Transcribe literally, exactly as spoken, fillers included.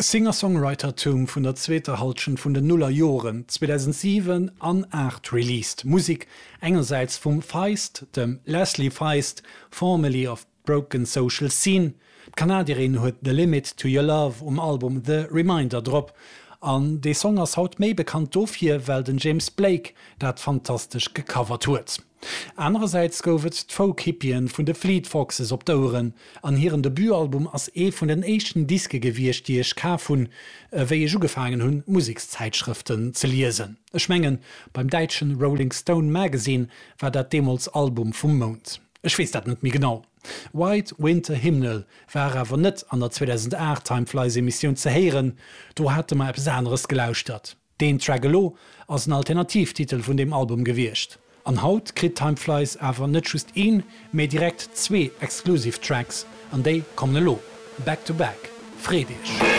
Singer-Songwritertum vun der zweeter Hallschent vun den Nullerjoren zweedausentsiwen an aacht released Musek engersäits vum Feist, dem Leslie Feist, formerly of Broken Social Scene. D'Kanadierin huet The Limit to Your Love um Album The Reminder drop. An dee Song ass haut méi bekannt dofir, well den James Blake dat fantastesch gecovert huet. Anerersäits gouf et d'Folk-Hippien vun de Fleet Foxes op d'Oueren, an hiren Debutalbum ass ee vun den éischten Diske gewiescht, déi ech kaf hunn, wéi ech ugefaangen hunn, Musekszäitschrëften ze liesen. Ech mengen, beim däitschen Rolling Stone Magazine war dat deemools Album vum Mount. Ech weess dat net méi genau. White Winter Hymnal war awer net an der zweedausenaacht Time Flies Emissioun ze héieren, do hate mer eppes aneres gelauschtert. Deen Track elo ass en Alternativtitel vun deem Album gewiescht. An haut kritt Time Flies awer net just een, mee direkt zwee exclusive Tracks, an déi kommen elo, back to back. Freet iech!